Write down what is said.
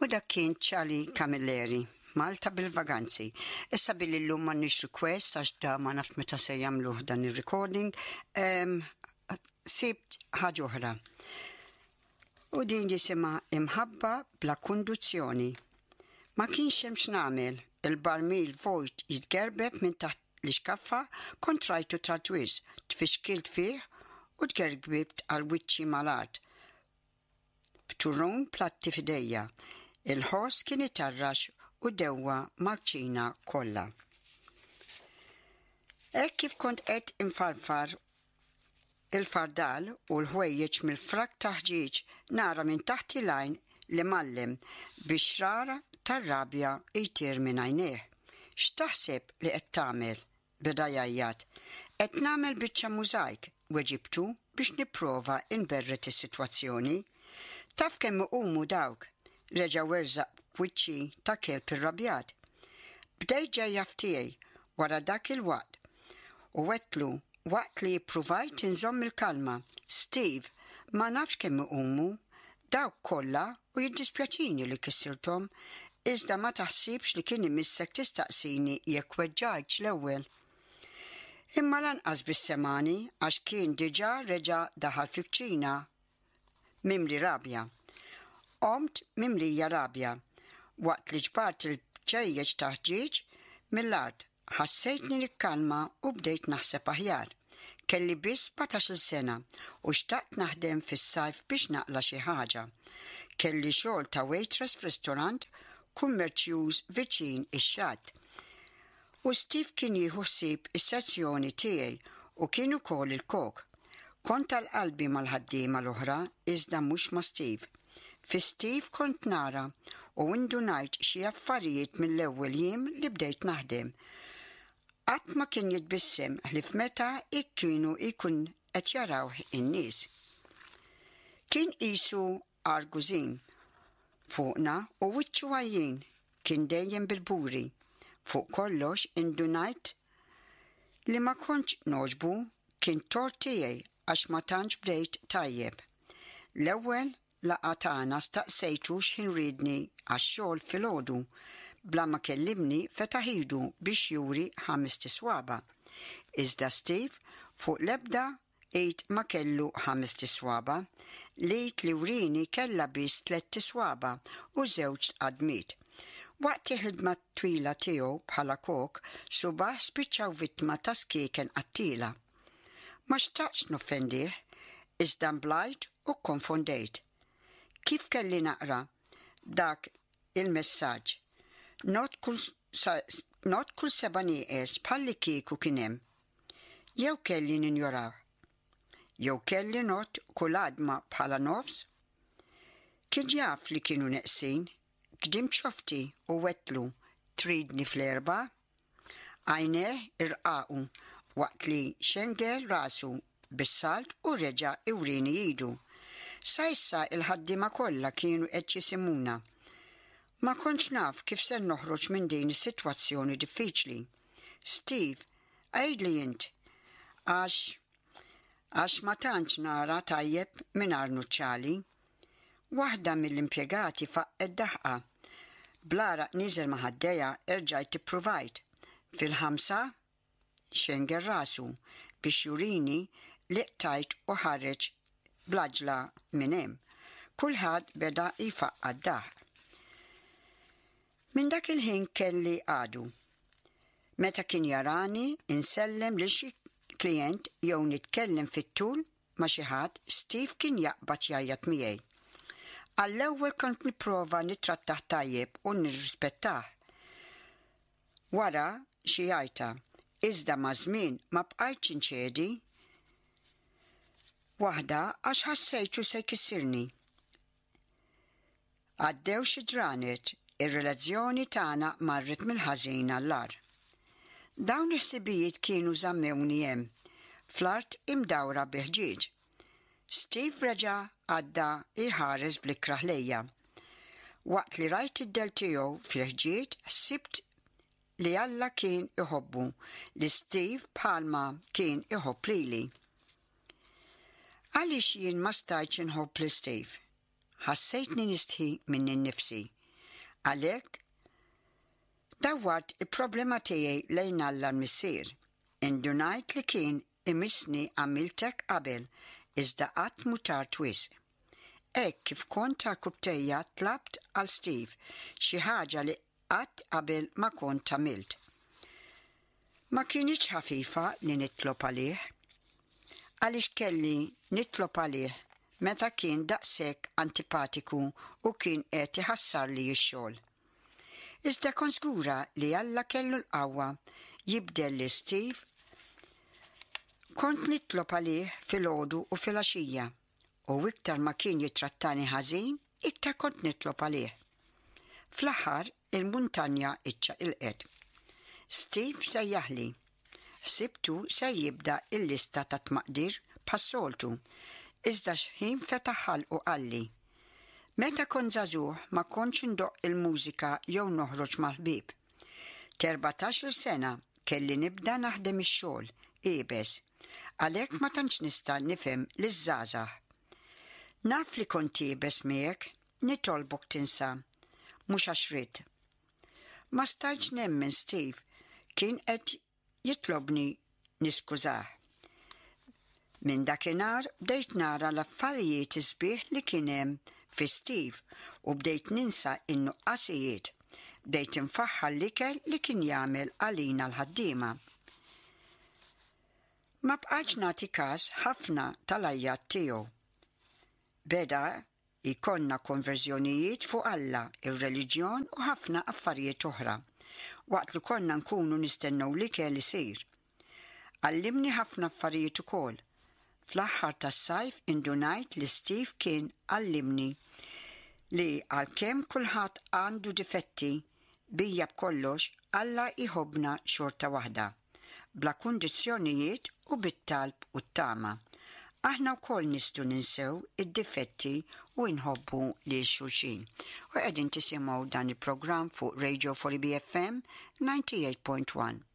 U dak kien Charlie Camilleri, Malta bil-Vaganzi. Issa billi llum m'għandniex request għax da ma nafx meta se jagħmluh dan ir-recording, sibt ħaġa oħra. U din jisimha Imħabba bla kunduzzjoni. Ma kienx hemm x'nagħmel, il-barmil vojt jitgerbeb minn taħt l-ixkaffa kont rajtu tard wisq, tfixkilt fih u tgergbibt għal wiċċi mal-art. B'turrun platti f'idejja. Il-ħoss kien itarrax u dewwa mal-kċina kollha. Hekk kif kont qed infarfar il-fardal u l-ħwejjeġ mill-frak ta' ħġieġ nara minn taħt il-għajn l-imgħallem bix-xrara tar-rabja jtir minn għajnejh. X'taħseb li qed tagħmel? Beda jgħajjat. Qed nagħmel biċċa mużajk, weġibtu biex nipprova nberred is-sitwazzjoni. Taf kemm iqumu dawk! Reġa' werżaq f'wiċċi ta' kelb irrabjat. Bdejt ġejja f'tiegħi wara dak il-waqt u għedtlu waqt li ppruvajt inżomm il-kalma, Steve, ma nafx kemm iqumu dawk kollha u jiddispjaċini li kissirthom, iżda ma taħsibx li kien imissek tistaqsini jekk weġġajtx l-ewwel. Imma lanqas biss semagħni għax kien diġà reġa' daħal fil-kċina mimli rabja. Qomt mimlija rabja waqt li ġbart il-bċejjeċ ta' ħġieġ mill-art. Ħassejtni nikkalma u bdejt naħseb aħjar. Kelli biss sbatax-il sena u xtaqt naħdem fis-sajf biex naqla' xi ħaġa. Kelli xogħol ta' waitress f'ristorant kummerċjuż viċin ix-xatt. U Steve kien jieħu ħsieb is-sezzjoni tiegħi u kien ukoll il-kok. Kont għal qalbi mal-ħaddiema l-oħra iżda mhux ma' Steve. Fi Steve kont nara u indunajt xi affarijiet mill-ewwel jiem li bdejt naħdem. Qatt ma kien jitbissem ħlief meta kienu jkun qed jarawh in-nies. Kien qisu argużin fuqna u wiċċu għajjien kien dejjem bil-buri. Fuq kollox indunajt li ma kontx nogħġbu kien tort tiegħi għax ma tantx bdejt tajjeb. L-ewwel laqgħa tagħna staqsejtu x'ħin riedni għax-xogħol filgħodu. Bla ma kellimni fetaħ idu biex juri ħamest iswaba'. Iżda Steve fuq l-ebda id ma kellu ħamest iswaba'. L-id li wrieni kellha biss tlett iswaba' u żewġ għadmiet. Waqt il-ħidma twila tiegħu bħala kok, subgħajh spiċċaw vittma ta' skieken qattiela. Ma xtaqtx noffendih, iżda nblajt u kkonfondejt. Kif kelli naqra dak il-messaġġ? Ngħodd kull ngħodd kull seba' nieqes bħallikieku kien hemm. Jew kelli ninjorah? Jew kelli ngħodd kull għadma bħala nofs? Kien jaf li kienu neqsin, gdimt xofti u għedtlu, Tridni fl-erbgħa? Għajnejh irqaqu waqt li xengel rasu bis-salt u reġa' iwrieni idu. Sa issa il-ħaddiema kollha kienu qed jisimgħuna. Ma kontx naf kif ser noħroġ minn din is-sitwazzjoni diffiċli. Steve, għidli int, għax għax ma tantx nara tajjeb mingħajr nuċċali. Waħda mill-impjegati faqqgħet daħqa. Bl-għaraq nieżel ma' ħaddejha erġajt ippruvajt. Fil-ħamsa? Xengel rasu biex jurini li qtajt u ħareġ bl-għaġla minn hemm. Kulħadd beda jfaqqa' d-daħq. Minn dak il-ħin kelli għadu. Meta kien jarani insellem lil xi klijent jew nitkellem fit-tul ma' xi ħadd, Steve kien jaqbad jgħajjat miegħi. Għall-ewwel kont nipprova nittrattah tajjeb u nirrispettah. Wara xi għajta, iżda maż-żmien ma bqajtx inċedi. Waħda għax ħassejtu se jkissirni. Għaddew xi ġranet, ir-relazzjoni tagħna marret mill-ħażin għall-agħar. Dawn il-ħsibijiet kienu żammewni hemm, fl-art imdawra bi ħġieġ. Steve reġa' għadda jħares bl-ikrah lejja. Waqt li rajt id-dell tiegħu fil-ħġieġ ħsibt li Alla kien iħobbu li Steve bħalma kien iħobb lili. Għaliex jien ma stajtx inħobb lil Steve? Ħassejtni nistħi minni nnifsi. Għalhekk dawwart il-problema tiegħi lejn Alla l-Missier. Indunajt li kien imissni għamilt hekk qabel iżda qatt mhu tard wisq. Hekk kif kont għarkupptejja tlabt għal Steve, xi ħaġa li qatt qabel ma kont għamilt. Ma kinitx ħafifa li nitlob għalih. Għaliex kelli nitlob għalih meta kien daqshekk antipatiku u kien qed iħassarli x-xogħol? Iżda kont żgura li Alla kellu l-qawwa jibdel lil Steve. Kont nitlob għalih filgħodu u filgħaxija u iktar ma kien jittrattani ħażin, iktar kont nitlob għalih. Fl-aħħar, il-muntanja iċċaqilqet. Steve sejjaħli. Ħsibtu se jibda l-lista ta' tmaqdir bħas-soltu, iżda x'ħin fetaħ ħalqu qalli, Meta kont żagħżugħ ma kontx indoqq il-mużika jew noħroġ mal-ħbieb. T'erbatax-il sena kelli nibda naħdem ix-xogħol iebes, għalhekk ma tantx nista' nifhem liż-żgħażagħ. Naf li kont iebes miegħek, nitolbok tinsa. Mhux għax ridt. Ma stajtx nemmen Steve kien qed jitlobni niskużah. Minn dakinhar bdejt nara l-affarijiet is-sbieħ li kien hemm fi Steve u bdejt ninsa n-nuqqasijiet. Bdejt infaħħar l-ikel li kien jagħmel għalina l-ħaddiema. Ma bqajtx nagħti kas ħafna tal-għajjat tiegħu. Beda jkollna konverżjonijiet fuq Alla, ir-reliġjon u ħafna affarijiet oħra, waqt li konna nkunu nistennew l-ikel isir. Għallimni ħafna affarijiet ukoll. Fl-aħħar tas-sajf indunajt li Steve kien għallimni li għalkemm kulħadd għandu difetti, bija b'kollox, Alla jħobbna xorta waħda. bla kundizzjonijiet u bit-talb u t-tama. Aħna wkoll nistgħu ninsew id-difetti u nħobbu lil xulxin. U qegħdin tisimgħu dan il-programm fuq Radio 4 BFM 98.1.